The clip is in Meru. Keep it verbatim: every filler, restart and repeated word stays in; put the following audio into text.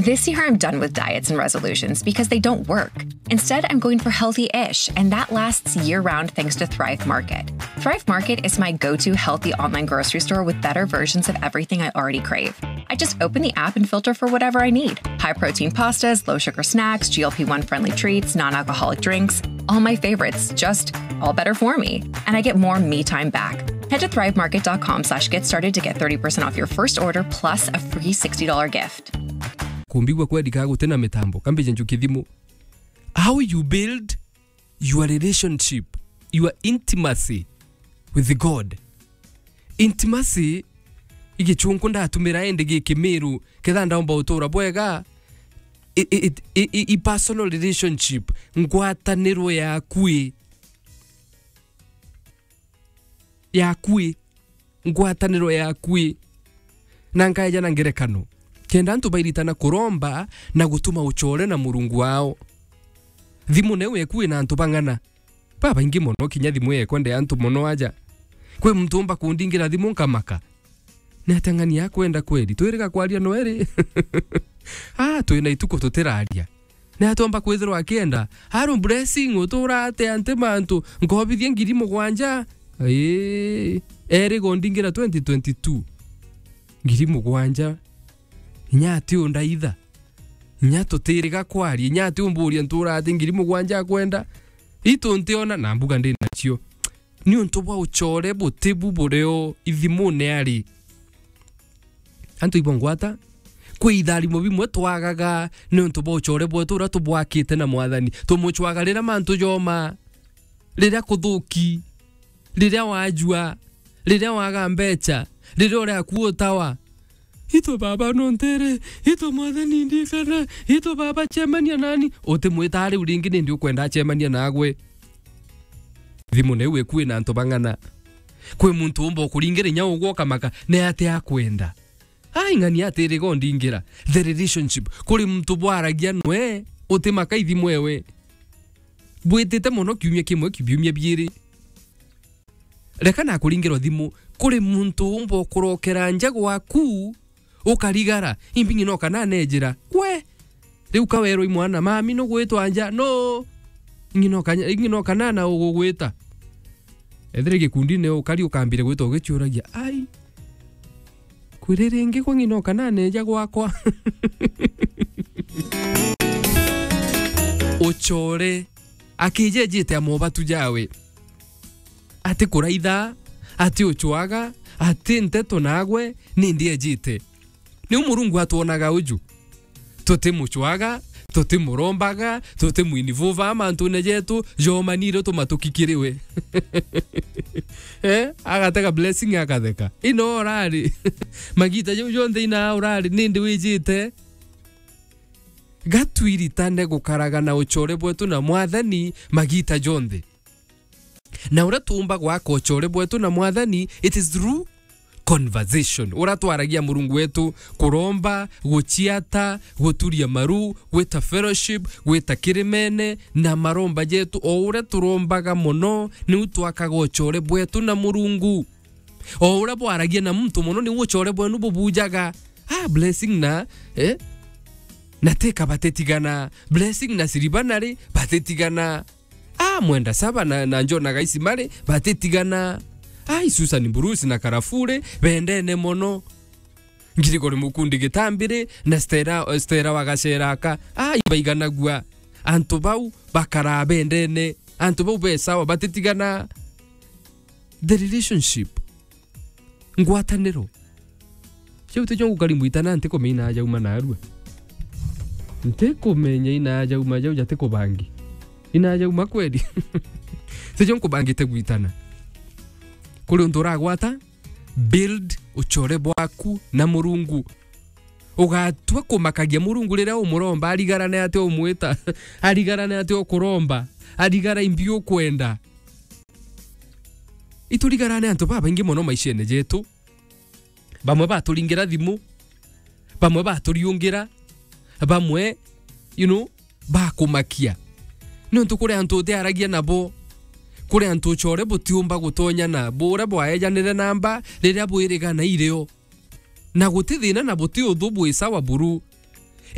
This year, I'm done with diets and resolutions because they don't work. Instead, I'm going for healthy ish, and that lasts year round thanks to Thrive Market. Thrive Market is my go to healthy online grocery store with better versions of everything I already crave. I just open the app and filter for whatever I need: high protein pastas, low sugar snacks, G L P one friendly treats, non alcoholic drinks, all my favorites, just all better for me. And I get more me time back. Head to thrivemarket.com slash get started to get thirty percent off your first order plus a free sixty dollar gift. Kumbigua kweri ka guti na mitambo, kambije njuki thimu. How you build your relationship, your intimacy with God. Intimacy, igichunku ndatumira indi gi Kimiru, ketha ndaumba utura bwega, i, i, i, i, i personal relationship, ngwataniro yaku i, yaku i, ngwataniro yaku i, na nkaeja na ngerekano, kenda antu bairitana kuromba na gutuma ucore na Murungu wao. Thimu neu eku ina antu bang'ana, babaingi mono, kinya thimu yekwa nde antu mono aja. Kwi muntu umba kundingira thimu nkamaka. Ni atia ng'ani akwenda kweri? Twiriga kwaria no eri? Ah, twina ituku tutiraria. Ni atia umba kwithirwa akienda? Aaron Blessing, utura atia nti mantu? Nkobithia ngiri mugwanja? Ii, eri gondingira twenty twenty-two. Ngiri mugwanja? Inya ati undaitha? Inya tutiriga kwaria? Inya ati umburia ntura ati ngiri mugwanja akwenda? Itu ntiona na mbuga ndi nacio. Niuntu bwa ucore butibu burio ithimune ari. Antu ibo ngwata, kwi itharimo bimwe twagaga niuntu bwa ucore bwetu uria tubwakite na Mwathani. Tumucwaga riria mantu joma, riria kuthuki, riria wajua, riria waga mbecha, riria uria aku utawa. Itwe baba no ntere, itwe Mwathani ndikana, itwe baba cemania nani. Utimwita riu ringi nindi ukwenda acemania nagwe. Thimu niu iku ina antu bang'ana. Kwi muntu umba ukuringira inya ugwe ukamaka, ni atia akwenda? Ai, ng'ani atiriga undingira. The relationship. Kuri muntu bwaragia nwe, utimaka ithimu ewe. Bwitite mono kiumia kimwe, kiumia biiri. Reka nakuringirwa thimu, kuri muntu umba ukurokera nja gwaku, ukarigara, imbi ng'ina ukana nejira. We! Riu kawerwa i mwana, mami nugwitwa nja, no? Ng'ina ukanya-, ng'ina ukana na ugugwita. Ethire gikundine ukari ukambire gwita ugichiuragia, ai. Kwiri ringi kwa ng'ina ukana neja gwakwa. Ucore, akijejite amobatu jawe. Ati kuraitha, ati uchwaga, ati nteto nagwe, nindi ejite. Niu Murungu atwonaga uju. Tutimuchwaga, tutimurombaga, tutimwinivuva mantune jetu, jomanire tumatuki kiri we. Eh, agatega blessing akatheka. Ino urari. Magita jau jonthe ina urari, nindi wijite. Gatwiritane gukaraga na ucore bwetu na Mwathani magita jonthe. Na uria tuumba gwaka ucore bwetu na Mwathani, it is through conversation. Uria twaragia Murungu wetu, kuromba, guchiata, guturia maru, gwita fellowship, gwita kirimene, na maromba jetu, o uria turombaga mono, niu twakaga ucore bwetu na Murungu. O uria bwaragia na muntu mono, niu ucore bwenu bubujaga. Ah, blessing na, eh? Na teka batitigana. Blessing na Siribanari batitigana. Ah, Mwenda Saba na, na Njona Gaisi mari batitigana. Ai, Susan Bruce na Karafure bendene mono. Ngirigori Mukundi Gitambiri na Stella, Stella wa Gaceraka. Ai, baiganagua. Antu bau bakaraa bendene. Antu bau be sawa, batitigana. The relationship. Ngwataniro. Ciu ticio ngukari mwitana, ntikumenya ina jauma narua. Ntikumenya ina jauma jau jatikubangi. Ina jauma kweli. Ticio nkubangite gwitana. Kuri untu uragwata, build ucore bwaku na Murungu. Ugatua kumakagia Murungu riria umuromba, arigarane atia umwita, arigarane atia ukuromba, arigara imbi ukwenda. Iturigarane antu babaingi mono maishene jetu. Bamwe baturingira thimu, bamwe baturiungira, bamwe, you know, bakumakia. Niuntu kuri antu utiaragia nabo, kuri antu ucore butiumba gutonya nabo, uria bwaejanire namba riria bwirigana irio. Na guti thina na buti uthu, bwi sawa buru.